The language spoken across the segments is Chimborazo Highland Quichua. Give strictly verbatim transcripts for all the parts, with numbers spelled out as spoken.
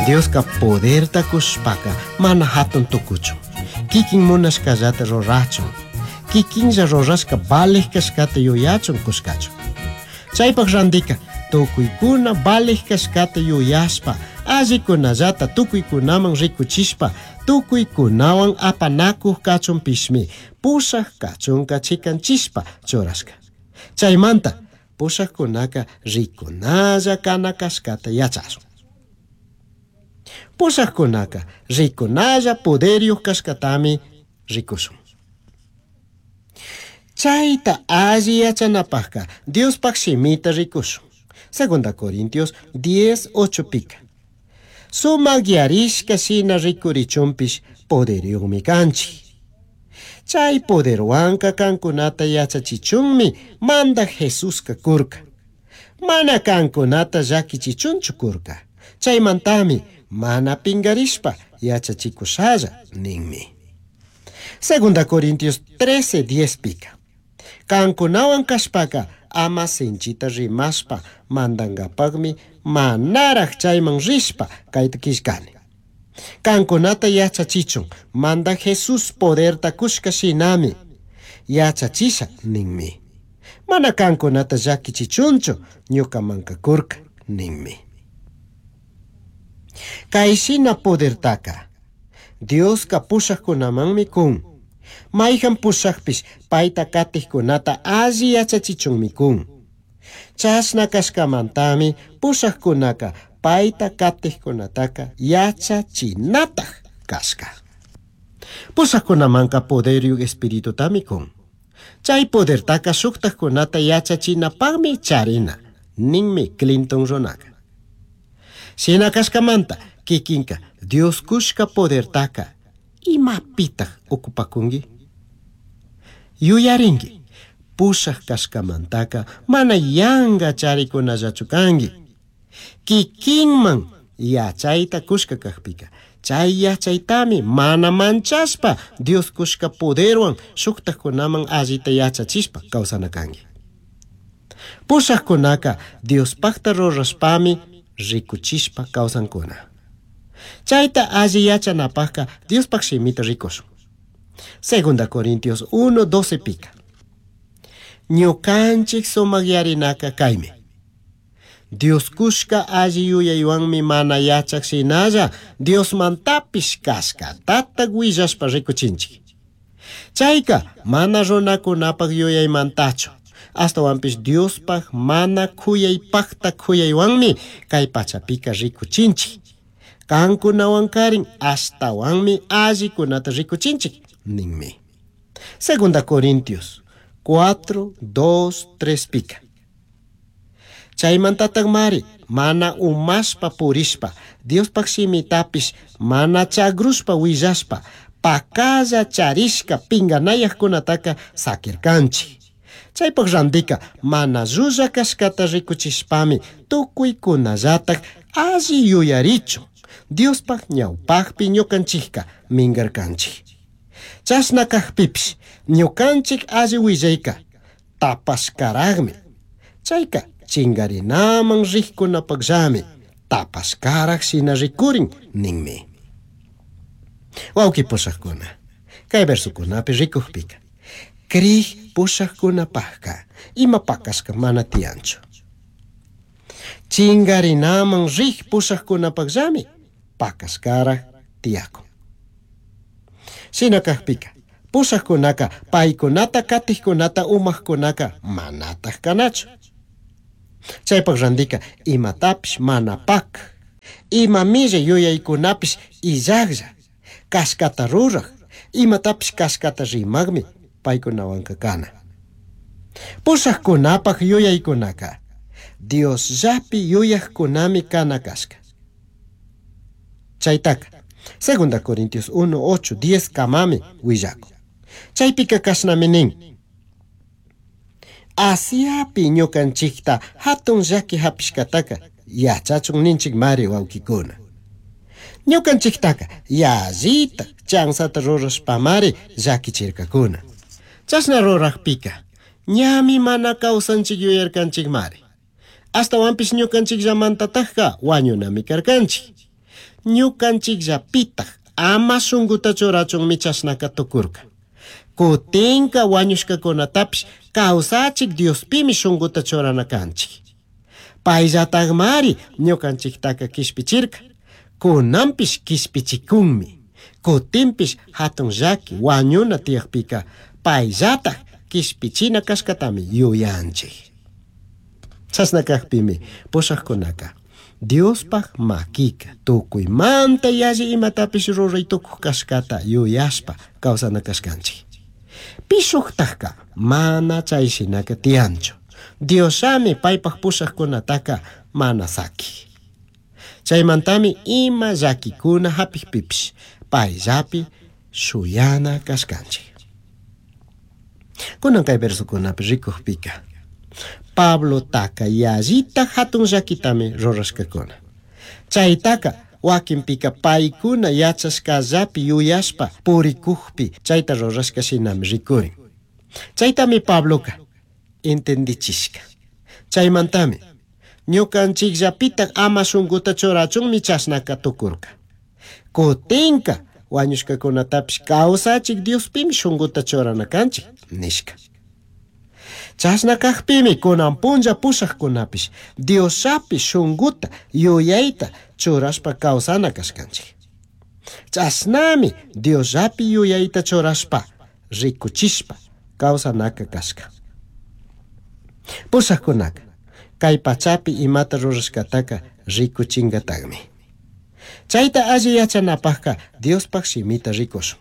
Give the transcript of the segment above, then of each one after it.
Dioska poderta kushpaka mana hatun tukuchun. Kikin munashkallata rurachun. Kikinlla rurashka valej kashkata yuyachun kushkachun. Chaypaq randika tukuykuna valej kashkata yuyashpa allikunallata tukuykunaman rikuchishpa tukuykunawan apanakuq kachunpishmi pushaq kachunka chikanchishpa churashka. Chaymanta pushaqkunaka rikunalla kana kashkata yachashun. Pushaqkunaka rikunalla poderyuq kashkatami rikushun. Chayta alli yachanapaqka Diospaq shimita rikushun. Segunda Corintios diez ocho pika. Sumaq yarishka shina rikurichunpish poderyuqmi kanchik. Chay poderwanka kankunata yachachichunmi mandaq Jesuska kurka. Mana kankunata llakichichunchu kurka. Chaymantami mana pingarishpa yachachikushalla ninmi. Segunda Corintios trece diez pika. Kankunawan kashpaka ama sinchita rimashpa mandangapaqmi manaraq chayman rishpa kayta killkani. Kankunata yachachichun manda Jesús poderta kushka shinami yachachisha ninmi. Mana kankunata llakichichunchu ñukamanka kurka ninmi. Kay shina podertaka Dioska pushaqkunamanmi kun. Mayhan pushaqpish payta katiqkunata alli yachachichunmi kun. Chashna kashkamantami pushaqkunaka payta katiqkunataka yachachinataq kashka. Pushaqkunamanka poderyuq espiritutami kun. Chay podertaka shuqtaqkunata yachachinapaqmi charina, ninmi Clinton runaka. Shina kashkamanta kikinka Dios kushka podertaka imapitaq ocupakunki? Yuyarinki, pushaq kashkamantaka mana yanka charikunallachu kanki. Kikinman yachayta kushka kaqpika, chay yachaytami mana manchashpa Dios kushka poderwan shuqtaqkunaman allita yachachishpa kawsana kanki. Pushaqkunaka Diospaqta rurashpami rikuchishpa kawsankuna. Chayta alli yachanapaqka Diospaq shimita rikushun. Segunda Corintios uno doce pika. Ñukanchik sumaq yarinaka kaymi. Dios kushka alli yuyaywanmi mana yachaq shinalla Diosmantapish kashkatata willashpa rikuchinchik. Chayka mana runakunapaq yuyaymantachu. Astawanpish Diospaq mana khuyaypaqta khuyaywanmi kay pachapika rikuchinchik. Kankunawan karin ashtawanmi allikunata rikuchinchik ninmi. Segunda Corintios cuatro, dos, tres pika. Chaymantataq mari mana umashpa purishpa Diospaq shimitapish mana chagrushpa willashpa pakalla charishka pinganayaqkunataka sakirkanchik. Chaypaq randika mana llulla kashkata rikuchishpami tukuykunallataq alli yuyarichun Diospaq ñawpaqpi ñukanchikka minkarkanchik. Chashna kaqpipish ñukanchik alli willayka tapashkaraqmi. Chayka chingarinaman riqkunapaqllami tapashkaraq shina rikurin ninmi. Wawqi pushaqkuna, kay versukunapi rikuqpika kriq pushaqkunapaqqa ima pakashka mana tiyanchu. Chingarinaman riq pushaqkunapaqllami pakashkaraq tiyakun. Shina kaqpika pushaqkunaka paykunata katiqkunata umaqkunaka manataq kanachu. Chaypaq randika imatapish mana pak, ima milla yuyaykunapish illaqlla, kashkata ruraq, imatapish kashkata rimaqmi paykunawanka kana. Pushaqkunapaq yuyaykunaka Diosllapi yuyaqkunami kana kashka. Chaytaka Segunda Corintios uno, ocho, diez kamami willakun. Chaypika kashnami nin. Asiapi ñukanchikta hatun llaki hapishkataka yachachun ninchik mari wawkikuna. Ñukanchiktaka yallita chansata rurashpamari llakichirkakuna. Chashna ruraqpika ñami mana kawsanchik yuyarkanchik mari. Ashtawanpish ñukanchikllamantatajka wañunami karkanchik. Ñukanchikllapitaj ama shunkuta churachunmi chashnaka tukurka. Kutinka wañushkakunatapish kawsachik Diospimi shunkuta churana kanchik. Payllatakmari ñukanchiktaka kishpichirka. Kunanpish kishpichikunmi. Kutinpish hatun llaki wañuna tiyakpika payllatak kishpichina kashkatami yuyanchik. Chashna kakpimi pushakkunaka Diospaj makika tukuymanta yalli imatapish ruray tukuj kashkata yuyashpa kawsana kashkanchik. Pishuktajka mana chay shinaka tiyanchu. Diosami paypaj pushakkunataka mana saki. Chaymantami ima llakikuna hapikpipish payllapi shuyana kashkanchik. Kunan kay versokunapi rikukpika Pablotaka yallita hatun llakitami rurashkakuna. Chaytaka wakinpika paykuna yachashkallapi yuyashpa purikukpi chayta rurashka shinami rikurin. Chaytami Pabloka entendichishka. Chaymantami ñukanchikllapitak ama shunkuta churachunmi chashnaka tukurka. Kutinka wañushkakunatapish kawsachik Diospimi shunkuta churana kanchik nishka. Chashna kakpimi kunan punlla pushakkunapish Diosllapi shunkuta yuyayta churashpa kawsana kashkanchik. Chashnami Diosllapi yuyayta churashpa rikuchishpa kawsanaka kashka. Pushakkunaka kay pachapi imata rurashkataka rikuchinkatakmi. Chayta alli yachanapajka Diospaj shimita rikushun.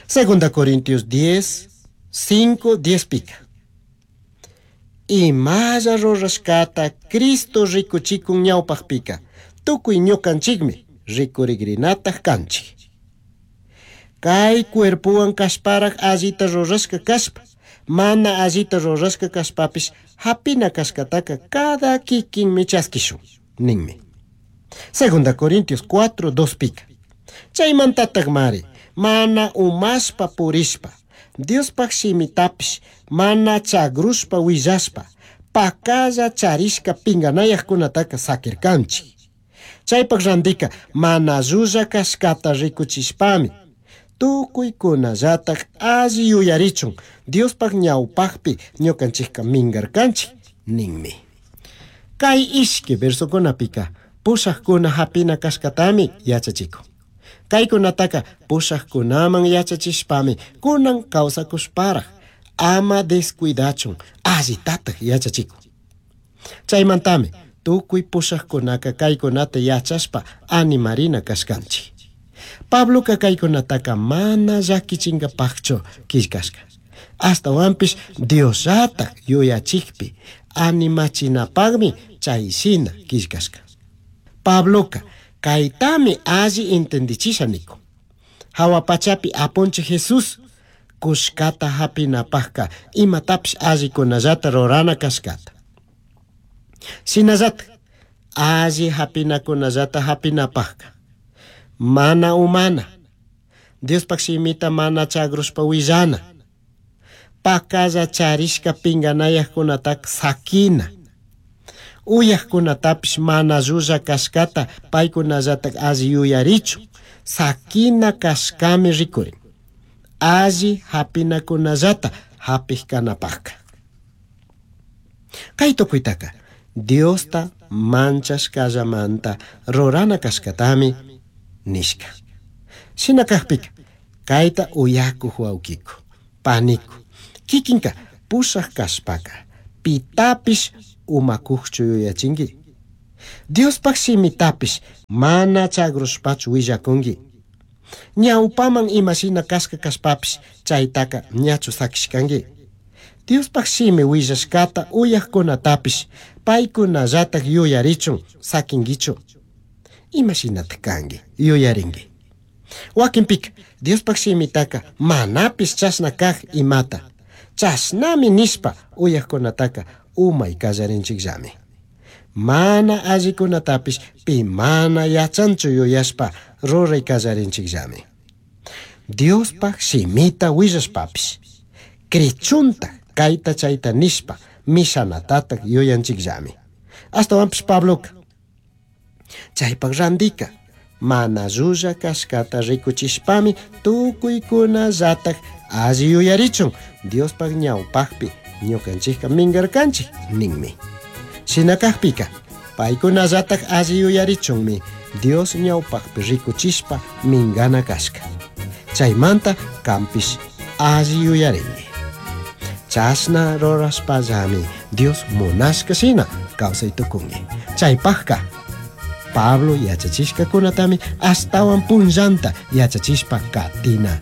Segunda Corintios diez, cinco, diez pika. Imalla rurashkata Cristo rikuchikun ñawpajpika tukuy ñukanchikmi rikurigrinataq kanchik. Kay cuerpowan kashparaj allita rurashka kashpa, mana allita rurashka kashpapish hapina kashkataka cada kikinmi chaskishun, ninmi. Segunda Corintios cuatro, dos pika. Chaymantataq mari, mana umashpa purishpa, Diospaj shimitapish mana chagrushpa willashpa, pakalla charishka pinganayaqkunataka sakirkanchik. Chaypaq randika mana llulla kashkata rikuchishpami, tukuykunallatak alli yuyarichun Diospaj ñawpajpi ñukanchikka minkarkanchik, ninmi. Kay ishki versokunapika pushaqkuna hapina kashkatami yachachikun. Kaykunataka pushaqkunaman yachachishpami kunan kawsakushparaj ama descuidachun allitataq yachachikun. Chaymantami tukuy pushaqkunaka kaykunata yachashpa animarina kashkanchik. Pabloka kaykunataka mana llakichinkapaqchu killkashka. Ashtawanpish Diosllatak yuyachikpi animachinapaqmi chayshina killkashka. Pabloka kaytami alli entendichisha nikun. Hawa pachapi apunchik Jesús kushkata hapinapaqka imatapish allikunallata rurana kashkata. Shinallatak alli hapinakunallata hapinapaqka mana umana, Diospaj shimita mana chagrushpa willana, pakalla charishka pinganayaqkunataka sakina, uyaqkunatapish mana llulla kashkata paykunallatak alli yuyarichun sakina kashkami rikurin, alli hapinakunallata hapik kanapaqka. Kay tukuytaka Diosta manchashkallamanta rurana kashkatami nishka. Shina kakpika kayta uyakuq wawkiku, paniku, kikinka pushaq kashpaka pitapish umakuqchu yuyachinki. Diospaj shimitapish mana chagrushpachu willakunki. Ñawpaman imashina kashka kashpapish chaytaka ñachu sakishkanki. Diospaj shimi willashkata uyaqkunatapish paykunallatak yuyarichun sakinkichu. Imashinataq kanki yuyarinki. Wakinpika Diospaj shimitaka manapish chashna kaq imata chashnami nishpa uyaqkunataka umay kallarinchikllami. Mana allikunatapish pi mana yachanchu yuyashpa ruray kallarinchikllami. Diospaj shimita willashpapish krichunta kayta chayta nishpa mishanatatak yuyanchikllami. Ashtawanpish Pabloka chaypaq randika Mana llulla cashcata ricuchishpami tucuicunallataj alli yuyarichun Diospaj ñawpajpi ñukanchikka mingarkanchik ninmi. Shina kajpika paykunallataj alli yuyarichunmi Dios ñawpajpi ricuchishpa mingana kashka. Chaymanta kanpish alli yuyarinki. Chashna rurashpallami Dios munashka shina kawsay tukunki. Chaypajka Pablo yachachishkakunatami ashtawan punllanta yachachishpa katina